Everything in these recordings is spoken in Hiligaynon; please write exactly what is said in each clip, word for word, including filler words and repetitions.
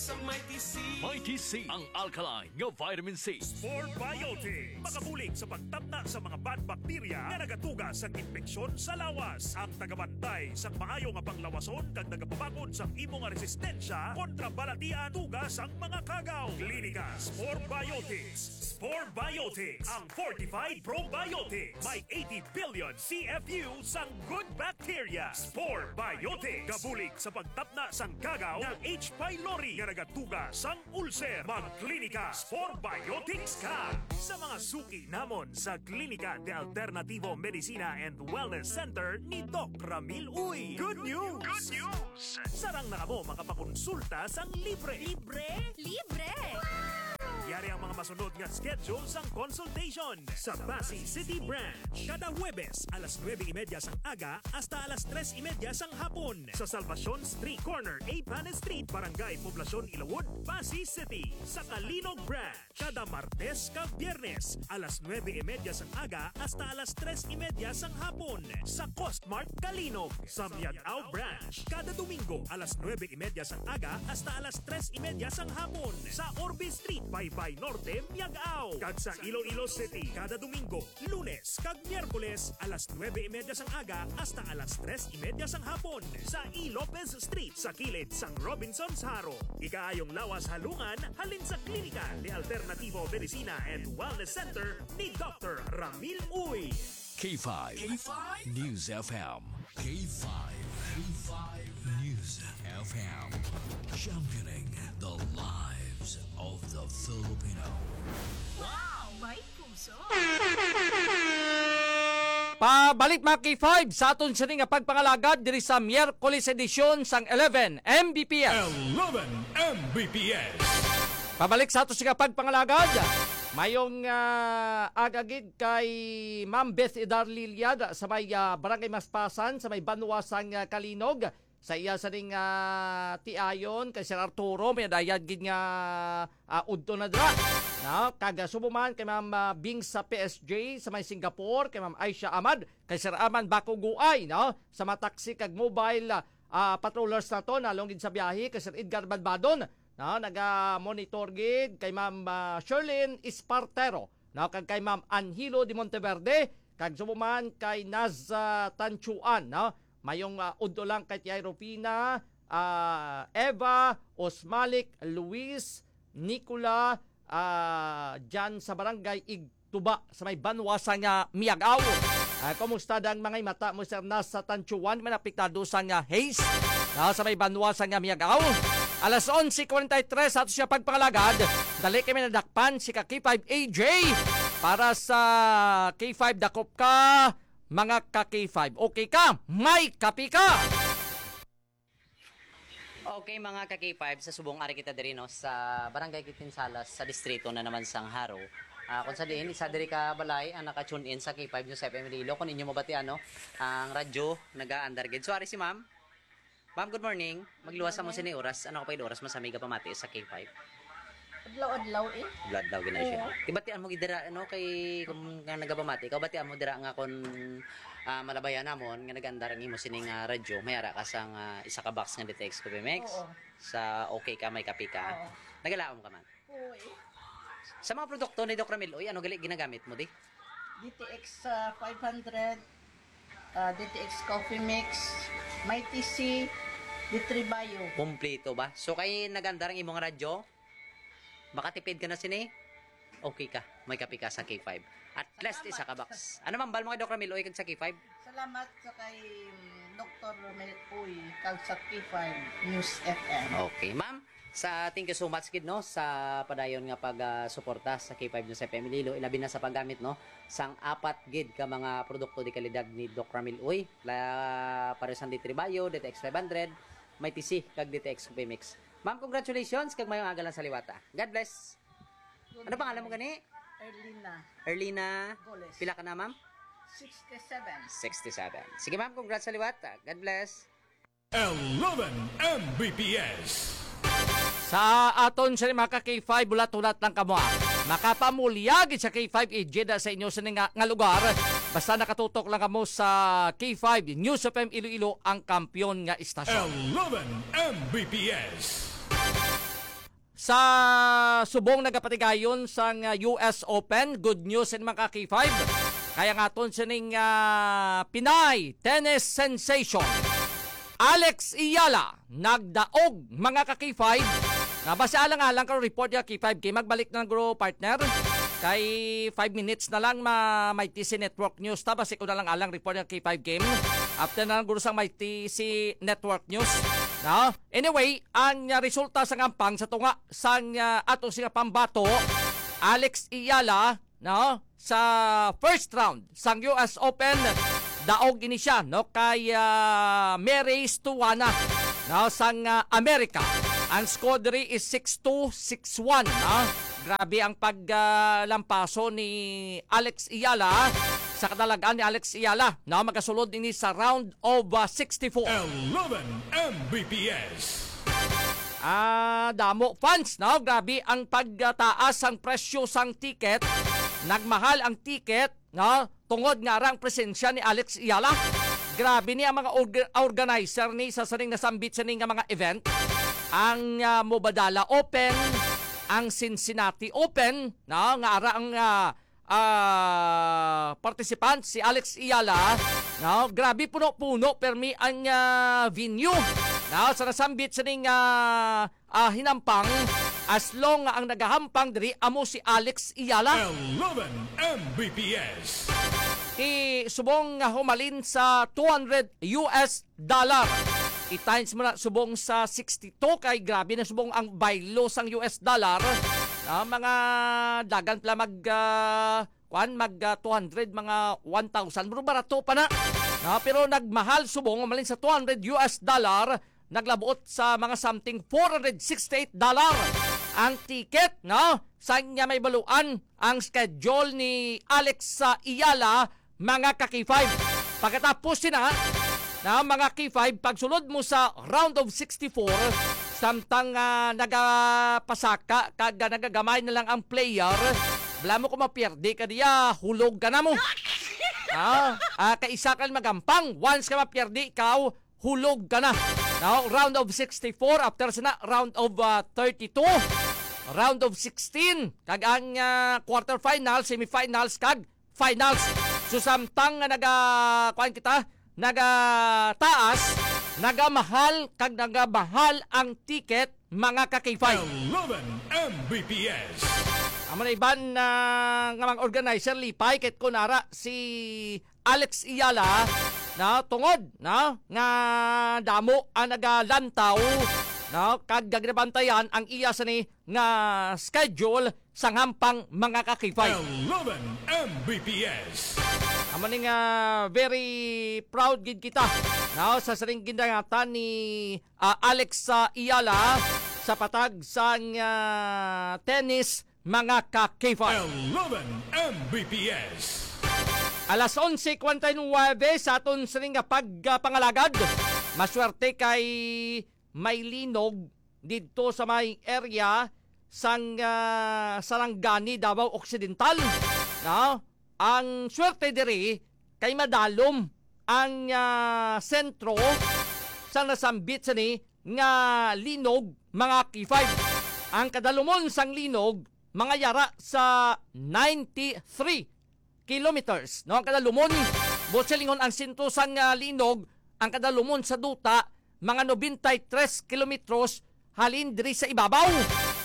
Sa Mighty C. Mighty C, ang alkaline nga vitamin C. Spore Biotics. Makabulig sa pagtapna sa mga bad bacteria nga nagatuga sang impeksyon sa lawas. Ang tagabantay sang maayo nga panglawason kag nagapabakod sang imo nga resistensya kontra balatian tuga sang mga kagaw. Klinika Spore Biotics. Spore Biotics, ang fortified probiotics. May eighty billion C F U sang good bacteria. Spore Biotics. Gabulig sa pagtapna sang kagaw nga H. pylori nga nagatuga sang ulcer. Magklinika Spore Biotics ka. Sa mga suki namon sa Klinika de Alternativo Medicina and Wellness Center ni Doc Ramil Uy. Good news! Good news! Sarang na kamo makapakonsulta sang libre. Libre? Libre! Yari ang mga masunod nga schedule sang consultation sa Passi City Branch. Kada Huwebes, alas nuebe y media sang aga hasta alas tres y media sang hapon. Sa Salvacion Street, corner A Panes Street, Barangay Poblacion, Ilawod, Passi City. Sa Calinog Branch, kada Martes kag Biyernes, alas nuebe y media sang aga hasta alas tres y media sang hapon. Sa Costmart Calinog, sa Miag-ao Branch, kada Domingo, alas nuebe y media sang aga hasta alas tres y media sang hapon. Sa Orbe Street, Baybay Norte, Miag-ao. Kag sa Iloilo City, kada Domingo, Lunes kag Miyerkules, alas nuebe y media sang aga hasta alas tres y media sang hapon, sa E. Lopez Street, sa kilid sang Robinsons Jaro. Ikaayong lawas halungan halin sa Klinika de Alternativo Medicina and Wellness Center ni Doctor Ramil Uy. K five K five News F M. K five K five News F M. Championing the lives of the Filipino. Wow! May puso! Pabalik, mga K five, sa aton sini nga pagpangalagad diri sa Miyerkules edisyon sang eleven M B P S. Eleven M B P S. Pabalik sa aton sini nga pagpangalagad. Mayong, ah, aga gid kay Ma'am Beth Idar Liliad sa may, ah, Barangay Maspasan, sa may banwa sang, ah, Calinog. Sa iya sining, ah, tiayon kay Sir Arturo, may dayan gid nga, ah, udto na dira, no? Kag, ah, subong man kay Ma'am, ah, Bing sa P S J sa may Singapore, kay Ma'am Aisha Ahmad, kay Sir Arman Bakuguay, no? Sa mga taxi kag mobile, ah, ah, patrollers naton, nalong gid sa biyahe, kay Sir Edgar Balbadon, no? Naga-monitor gid kay Ma'am, ah, Sherlyn Espartero, no? Kag kay Ma'am Anhilo de Monteverde, kag subong man kay Naz, ah, Tanchuan, no? Mayong, ah, udto lang kay Tiay Rufina, ah, Eva, Osmalik, Luis, Nicola, ah, dyan sa Barangay Igtuba, sa may banwa sang, ah, Miag-ao. Ah, kumusta dang mga mata mo, Sir Naz, sa Tanchuan? May apektado sang, ah, haze, ah, sa may banwa sang, ah, Miag-ao. Alas onse cuarenta y tres, ato siya pagpangalagad. Dali kami nadakpan si ka K five A J para sa K five Dakop Ka, mga ka K five. Okay ka? May kapi ka! Okay, mga ka K five, sa subong ari kita diri, no, sa Barangay Quitinsalas, sa distrito na naman sang Jaro. Ah, kung sa diin, isa diri ka balay ang naka-tune in sa K five News F M Iloilo. Kung inyo mabatian, no, ang radyo, nagaandar gid. So, ari si ma'am. Ma'am, good morning. Magluwas sa mo sini oras. Ano ka pa oras? Mas amiga pamati sa K five. Adlaw-adlaw eh. Adlaw-adlaw gina siya. Oo. Ibatian mo gid dira, ano, kay kung nga nagapamati ka, batian mo dira nga kung, ah, malabayan namon nga nag-andar ang imo sining, ah, radyo, may ara ka sang, ah, isa ka box nga D T X Coffee Mix. Oo. Sa okay ka, may kape ka. Oo. Nagalaom ka man. Oo eh. Sa mga produkto ni Doc Ramil, oy, ano gali ginagamit mo di? D T X, ah, five hundred, ah, D T X Coffee Mix, Mighty C, D three Bio. Kompleto ba? So, kay nagandar ang imong radyo, makatipid ka na sini, okay ka. May kape ka sa K five. At least isa ka box. Ano man, bal mo kay Doc Ramil, oy, kag sa K five? Salamat sa kay, mm, Doktor Ramil Uy, kag sa K five News F M. Okay, ma'am. Sa, thank you so much gid, no, sa padayon nga pag, ah, suporta sa K five News F M Iloilo, ilabi na sa paggamit, no, sang apat gid ka mga produkto de kalidad ni Doc Ramil Uy, la, pareho sang D three Bio, D T X five hundred, Mighty C, kag D T X Coffee Mix. Ma'am, congratulations, kag mayong aga lang sa liwata. God bless. Ano pangalan mo gani? Erlina. Erlina. Goles. Pila ka na, ma'am? Sixty-seven. Sixty-seven. Sige, ma'am, congrats sa liwat. God bless. Eleven M B P S. Sa aton sa mga ka K five, hulat-hulat lang kamo, ah. Makapamulya gid sa K five, ijeda sa inyo sa nga, nga lugar. Basta nakatutok lang kamo sa K five News F M Iloilo, ang kampiyon nga istasyon. Eleven M B P S. Sa subong nagapatigayon sang, ah, U S Open, good news ini, mga ka-K five. Kaya nga aton sining, ah, Pinay tennis sensation, Alex Eala, nagdaog, mga ka-K five. Na basi alang-alang karon report, ka-K five, kay magbalik na lang guro, partner. Kay five minutes na lang ma-, may T C Network News ta. Basi ko na lang alang report, ka-K five, game. After na lang guro sang may T C Network News. No? Anyway, ang, ah, resulta sa ngampang sa tunga sang, ah, ato siya pambato, Alex Eala, no, sa first round sang U S Open, daog ini siya, no, kay, ah, Mary Stuana, no, sang, ah, Amerika. Ang score diri is six two, six one, no? Grabe ang pag, ah, lampaso ni Alex Eala. Sa kadalagan ni Alex Eala, no, magasulod ini sa round of, ah, sixty-four. Eleven M B P S. Ah, damo fans, no? Grabe ang pagtaas sang presyo sang ticket. Nagmahal ang ticket, no? Tungod nga ara ang presensya ni Alex Eala. Grabe ni ang mga org-, organizer ni sa sining nasambit sini nga mga event. Ang, ah, Mubadala Open, ang Cincinnati Open, no? Nga ara ang, ah, ah, participant, si Alex Eala, no? Grabe, puno-puno permi ang, ah, venue, no? Sa nasambit sining, ah, ah, hinampang, as long nga ang nagahampang diri amo si Alex Eala. Eleven M B P S. Ti subong nga humalin sa two hundred U S dollar. I-times mo na subong sa sixty-two, kay grabe na subong ang baylo sang U S dollar. Ah, mga dagan pala mag, ah, kuan, mag, ah, two hundred, mga one thousand. Pero barato pa na. Ah, pero nagmahal subong, malin sa two hundred U S dollar, naglabuot sa mga something four hundred sixty-eight dollar ang ticket, no? Sa niya may baluan ang schedule ni Alex sa Iyala, mga ka-K five. Pagkatapos sina, na mga K five, pagsulod mo sa round of sixty-four, samtang, ah, nagapasaka kag, ah, nagagamay na lang ang player, bala mo kung mapiyerde ka diya, hulog ka na mo. Ah, ah, kaisa ka magampang, once ka mapiyerde ikaw, hulog ka na. Now, round of sixty-four, after sina, round of, ah, thirty-two, round of sixteen, kag ang, ah, quarterfinals, semifinals, kag finals. So, samtang nga naga, kuan kita, nagataas, nagamahal, kag nagamahal ang ticket, mga ka-K five. Eleven M B P S. Amo na iban, ah, nga mga organizer, lipay, kit ko nara si Alex Iyala, na tungod, na, nga damo ang nagalantaw, na, kag gaginabantayan ang iya sini nga schedule sa ngampang, mga ka-K five. Eleven M B P S. Amo ni nga very proud gid kita, no, sa sining gindangatan ni, ah, Alex, ah, Iyala sa patag sang, ah, tennis, mga ka-K five. Eleven M B P S. Alas onse kwarenta y nuebe sa aton sining nga pagpangalagad. Maswerte kay may linog didto sa may area sang, ah, Sarangani, Davao Occidental, no? Ang swerte diri kay madalom ang, ah, sentro sa nasambit sini nga linog, mga K five. Ang kadalumon sang linog, mga yara sa ninety-three kilometers, no? Ang kadalumon, buot silingon, ang sentro sang, ah, linog, ang kadalumon sa duta, mga nobenta y tres kilometros halin diri sa ibabaw.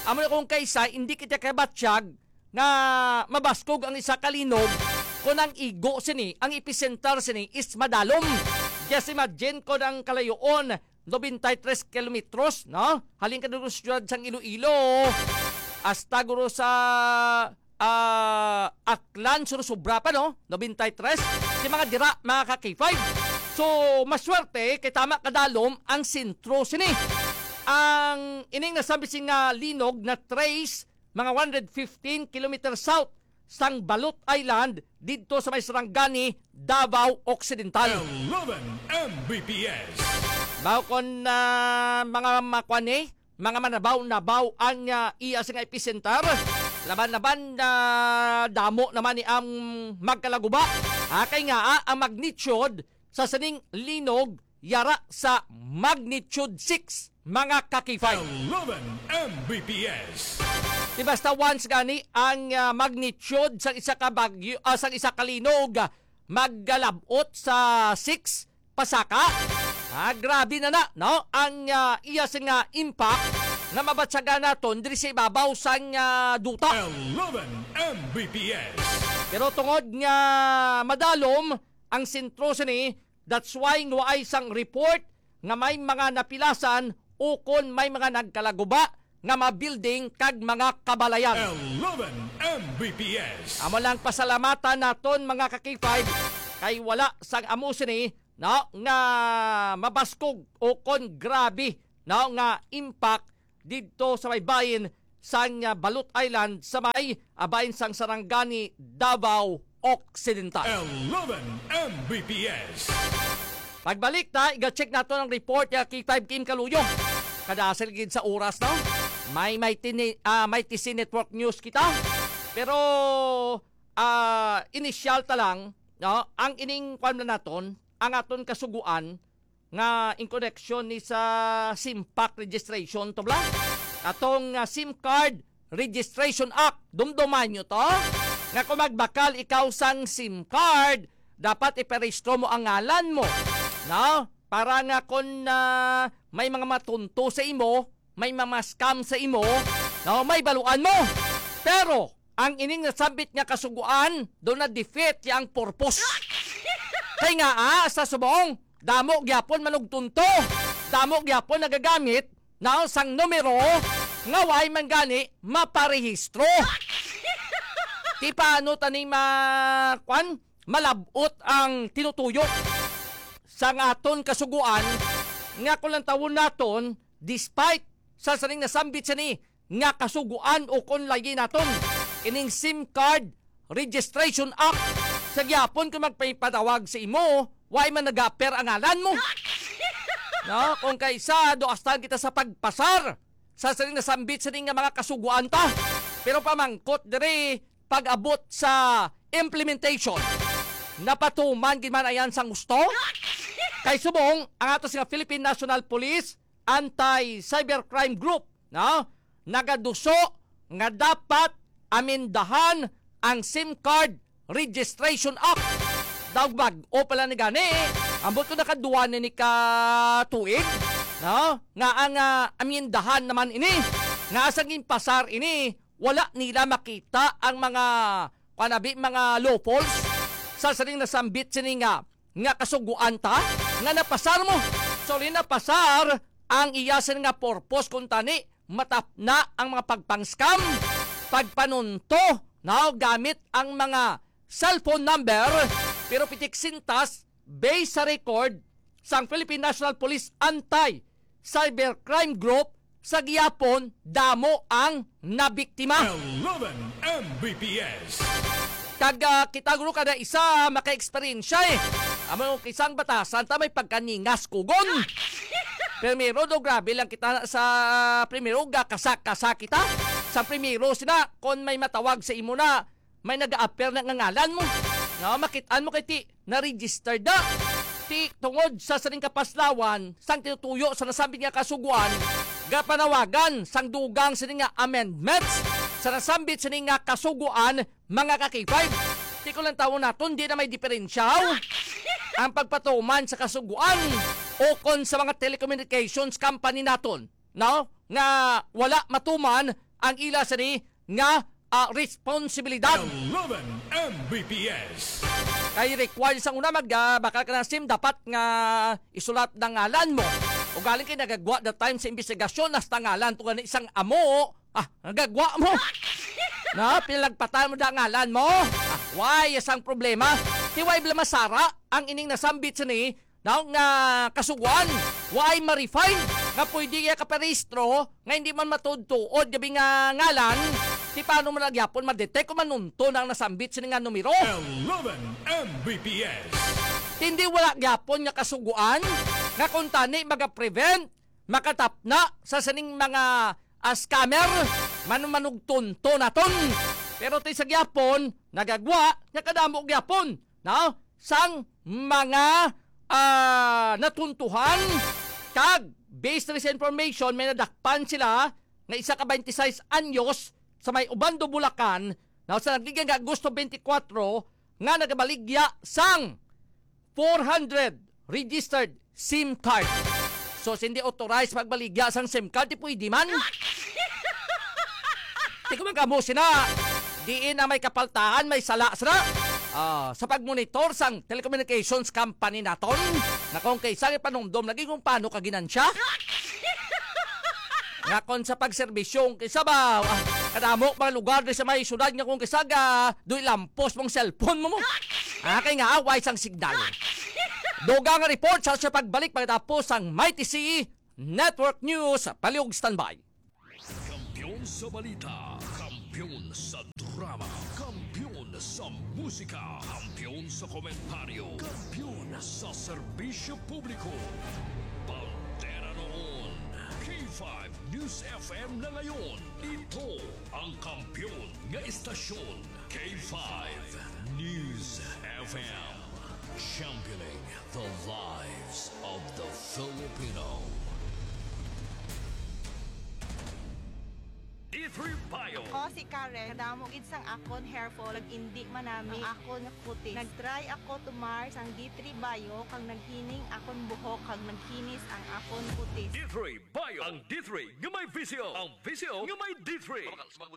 Amo na kung kaisa, hindi kita kabatyag nga mabaskog ang isa ka linog kung ang igo sini, ang epicenter sini is madalom. Just imagine kung ang kalayoon nobenta y tres kilometros, no? Halin ka dito sa siyudad sang Iloilo, hasta guro sa, ah, Aklan, surusubra pa, no? Nobenta y tres. Di mga dira, mga ka-K five. So, maswerte, kay tama kadalom ang sentro sini. Ang ining nasabi sini nga linog na trace mga one hundred fifteen kilometers south sang Balot Island didto sa may Sarangani, Davao Occidental. Eleven M B P S. Mao kon, ah, mga makuan ni, mga manabaw-nabaw ang, ah, iya sa nga epicenter. Laban-laban, ah, damo naman ni ang magkalaguba. Ah, kay nga, ah, ang magnitude sa sining linog yara sa magnitude six, mga ka-K five. Eleven M B P S. Di basta once gani ang, ah, magnitude sa isa ka bagyo, ah, sa isa ka linog, ah, maggalabot sa six pasaka. Ah, grabe na na, no? Ang, ah, iya sing, ah, impact nga mabatyagan naton diri sa ibabaw sang, ah, duta. Eleven M B P S. Pero tungod nga madalom ang sentro sini, that's why nga waay sang report nga may mga napilasan ukon may mga nagkalaguba nga mga building kag mga kabalayan. Eleven M B P S. Amo lang pasalamatan naton, mga ka-K five, kay wala sang amo sini, no, nga mabaskog ukon grabe, no, nga impact didto sa may bahin sang, ah, Balot Island sa may, ah, bahin sang Sarangani, Davao Occidental. Eleven M B P S. Pagbalik ta, iga-check nato ang report ya K five Kim Kaluyo. Kadasal gid sa oras, no? May, may tini-, ah, may T C Network News kita. Pero, ah, inisyal ta lang, no? Ang ining kwan na naton, ang aton kasuguan, nga in connection ni sa SIMPAC registration to bla? Atong, ah, SIM Card Registration Act. Dumduman nyo to? Nga kung magbakal ikaw sang SIM card, dapat iparehistro mo ang ngalan mo. No? Para nga kung, ah, may mga matunto sa imo, may mga scam sa imo, no? May baluan mo. Pero, ang ining nasambit nga kasuguan, do na-defeat ya ang purpose. Kay nga, ah, sa subong, damo gyapon manugtunto, damo gyapon nagagamit, no, sang numero nga way man gani maparehistro. Ti paano tani ma-, kwan? Malab-ot ang tinutuyo sang aton kasuguan nga kung lantawon naton, despite sa sining nasambit sini nga kasuguan ukon layi naton, ining SIM Card Registration Act, sa gyapon kung magpapatawag sa imo, way man nag-appear ang ngalan mo. No? Kung kaisa, do hasta kita sa pagpasar sa sining nasambit sini nga mga kasuguan ta. Pero pamangkot diri, pag-abot sa implementation, napatuman gid man ayan sang gusto? Kay subong, ang ato nga Philippine National Police Anti-Cybercrime Group, no, nagaduso nga dapat amendahan ang SIM Card Registration Act. Daw bag-o pala ni gani, ambot ko nakaduwa na ni ka tuig, no, nga ang, ah, amendahan naman ini, nga asang ginpasar ini, wala nila makita ang mga, kuwan abi, mga loopholes sa sining nasambit sini nga, nga kasuguan ta nga napasar mo. Sorry, napasar ang iya sini nga purpose, kung tani matapna ang mga pagpang-scam, pagpanunto, no, gamit ang mga cellphone number, pero pitik sintas, based sa record sang Philippine National Police Anti-Cybercrime Group, sa gihapon, damo ang nabiktima. Eleven M B P S. Kag, ah, kita guro kada isa maka-eksperyensya, eh. Amo kay sang batasan ta may pagkaningas kugon. Primero do, grabe lang kita sa primero, gakasa-kasa kita. Sa primero sina, kon may matawag sa imo na, may nag-a-appear na nga ngalan mo. No, makit-an mo kay ti na-registered na. Ti tungod sa sining kapaslawan sang tinutuyo sa nasambit nga kasuguan, gapanawagan sang dugang sini nga amendments sa nasambit sini nga kasuguan, mga ka-K five. Ti ko lang tawon naton, di na may diferensya ang pagpatuman sa kasuguan o kon sa mga telecommunications company naton, no, nga wala matuman ang ila sini nga, ah, responsibilidad. Eleven M B P S. Kay required sang una, mag, ah, bakal ka ng SIM, dapat nga isulat na ngalan mo. Ugaling kay nagagwa the time sa investigasyon, hasta ngalan to gani sang amo, ah, nagagwa mo. Na, pinalagpatan mo da ngalan mo. Ah, why, isang problema. Ti way bala masara ang ining nasambit sini, no, nga kasuguan, way ma-refine nga pwede iya kaparehistro nga hindi man matuod-tuod gabi nga ngalan, ti paano man gyapon ma-detect o manunto na ang nasambit sini nga numero? Eleven M B P S. Ti hindi wala gyapon nga kasuguan nga kung tani maga-prevent, makatapna sa sining mga, ah, scammer, manumanugtunto naton. Pero ti sa gyapon, nagagwa nga kadamo gyapon, no, sang mga ah, natuntuhan, kag based na sa information, may nadakpan sila nga isa ka twenty-six anyos sa may Obando, Bulacan, na sa nagligya nga Agosto twenty-four, nga nagabaligya sang four hundred registered SIM card. So, hindi authorized magbaligya sang SIM card, di pwede man. Di ko man kamo sina, diin na may kapaltahan, may sala sila. Ah, sa pagmonitor sang telecommunications company naton, na kung kaysa ipanumdom lagi kung paano ka ginansya. Nga kon sa pagserbisyo, kung kaysa ba, ah, kadamo mga lugar di sa may syudad nga kung kaysa ga, do'y lampos mong cellphone mo mo. Ah, kay nga away sang signal. Dugang nga report sa, sa pagbalik pagkatapos sang Mighty C Network News. Palihog standby. Kampiyon sa balita, kampiyon sa drama, kampiyon sa musika, kampiyon sa komentaryo, kampiyon sa serbisyo publiko. Bandera noon, K five News F M na ngayon. Ito ang kampiyon nga istasyon, K five News F M. Championing the lives of the Filipino. D three Bio. Ako si Karen. Kadamo gid sang akon hair fall, nag-indi man nami ang akon nga kutis. Nag-try ako tumar sang D three Bio, kag naghining akon buhok, kag nagkinis ang akon kutis. D three Bio. Ang D three nga may V C O. Ang V C O nga may D three.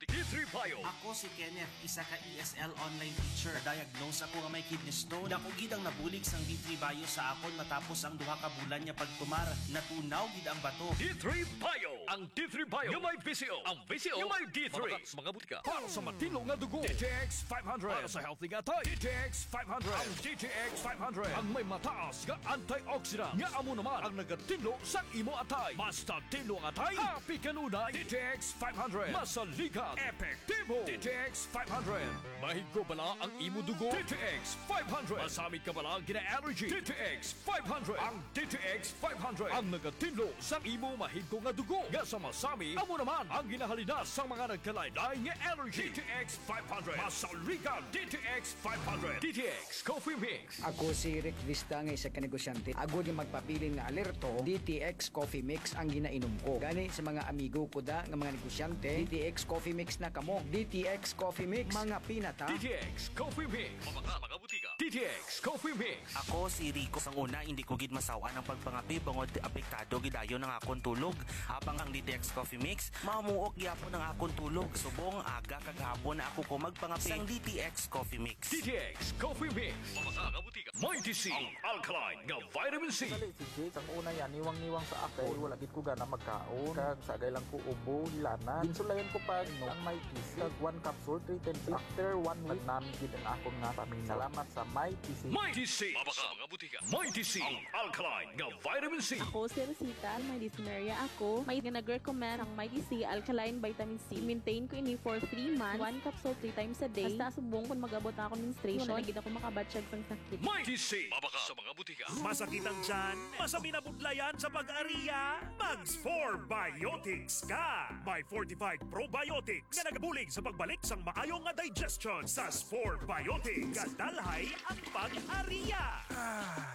D three Bio. Ako si Kenneth, isa ka E S L online teacher. Diagnose ako nga may kidney stone. Dako gid ang nabulig sang D three Bio sa akon matapos ang duha ka bulan nga pagtumar. Natunaw gid ang bato. D three Bio. Ang D three Bio nga may V C O. Ang V C O nga may D three. Mabakal sa mga butika. Para sa matinlo nga dugo, D T X five hundred. Para sa healthy nga atay, D T X five hundred. Ang D T X five hundred ang may mataas nga antioxidant nga amo naman ang nagatinlo sang imo atay. Basta tinlo ang atay, happy kanunay. D T X five hundred. Masaligan, epektibo. D T X five hundred. Mahigko bala ang imo dugo? D T X five hundred. Masami ka bala gina-allergy? D T X five hundred. Ang D T X five hundred ang nagatinlo sang imo mahigko nga dugo nga sa masami, amo naman ang ginahalinas sang mga nagkalain-lain nga allergy. D T X five hundred. Masaligan, D T X five hundred. D T X Coffee Mix. Ako si Rick Vista nga isa ka negosyante. Agod nga magpabilin nga alerto, D T X Coffee Mix ang ginainom ko. Gani sa mga amigo ko da nga mga negosyante, D T X Coffee Mix na kamo. D T X Coffee Mix, mga pinata. D T X Coffee Mix. Mabakal sa mga butika. D T X Coffee Mix. Ako si Rico. Sang una, hindi ko gid masaw-an ang pagpangape bangod apektado gid dayon ang akon tulog. Habang ang D T X Coffee Mix, mamuok gyapon ang akon tulog. Subong, aga kag hapon na ako ko magpangape. Sang D T X Coffee Mix. D T X Coffee Mix. Mabakal sa mga butika. Mighty C, ang alkaline nga vitamin C. Dali, si Jake, ang una yan, niwang-niwang sa ako. Wala gid ko gana magkaon. Kag sagay lang ko ubo, hilanan. Ginsulayan ko pa, no, ang Mighty C. Kag one capsule, three times. After one week, nagnami gid ang akon nga pamina. Salamat sa Mighty C. Mighty C. Mabakal sa mga butika. Mighty C, ang alkaline nga vitamin C. Ako si Rosita, may dysmenorrhea ako. May nga nag-recommend ang Mighty C alkaline vitamin C. I-maintain ko ini for three months. One capsule three times a day. Hasta subong kung mag-abot na ako menstruation, Wala na gid ako makabatyag sang sakit. Mighty C. Mabakal sa mga butika. Masakit ang tiyan? Masami na budlayan sa pag-ariya? Mag Spore Biotics ka! May fortified probiotics nga nagabulig sa pagbalik sang maayo nga digestion sa Spore Biotics. Gadalhay ang pag-ariya!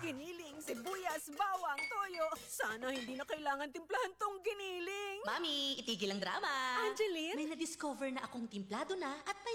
Giniling, sibuyas, bawang, toyo. Sana hindi na kailangan timplahan tong giniling. Mami, itigil ang drama. Angeline? May na-discover na akong timplado na at may